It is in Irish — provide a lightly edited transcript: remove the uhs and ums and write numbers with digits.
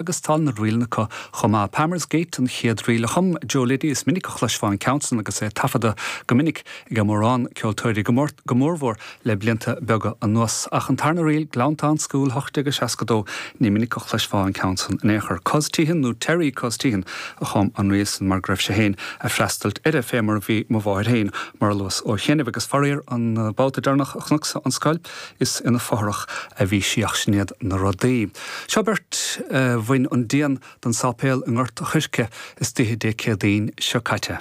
Agus tá na ríleanna acu chomh maith. Palmer's Gate an chéad ríl a chum Joe Liddy. Is minic a chloisfeá an ceann san agus é taifeadta go minic ag mórán ceoltóirí, go mórmhór le blianta beaga anuas. Ach an tarna ríl, Glounthaune School 1862, ní minic a chloisfeá an ceann san in aon chor. Cos Teehan nó Terry Cos Teehan a chum an ríl san mar go raibh sé féin a' freastailt uirthi, fé mar a bhí mo mháthair féin, mar a luas ó chianaibh. Agus faraor, an babhta deireanach a chonacsa an scoil, Is ina fothrach a bhí sí ach sin iad na rudaí. Seo beirt a bhain an díon den sáipéal i nGort a' Choirce istoíche Dé Céadaoin seo caite.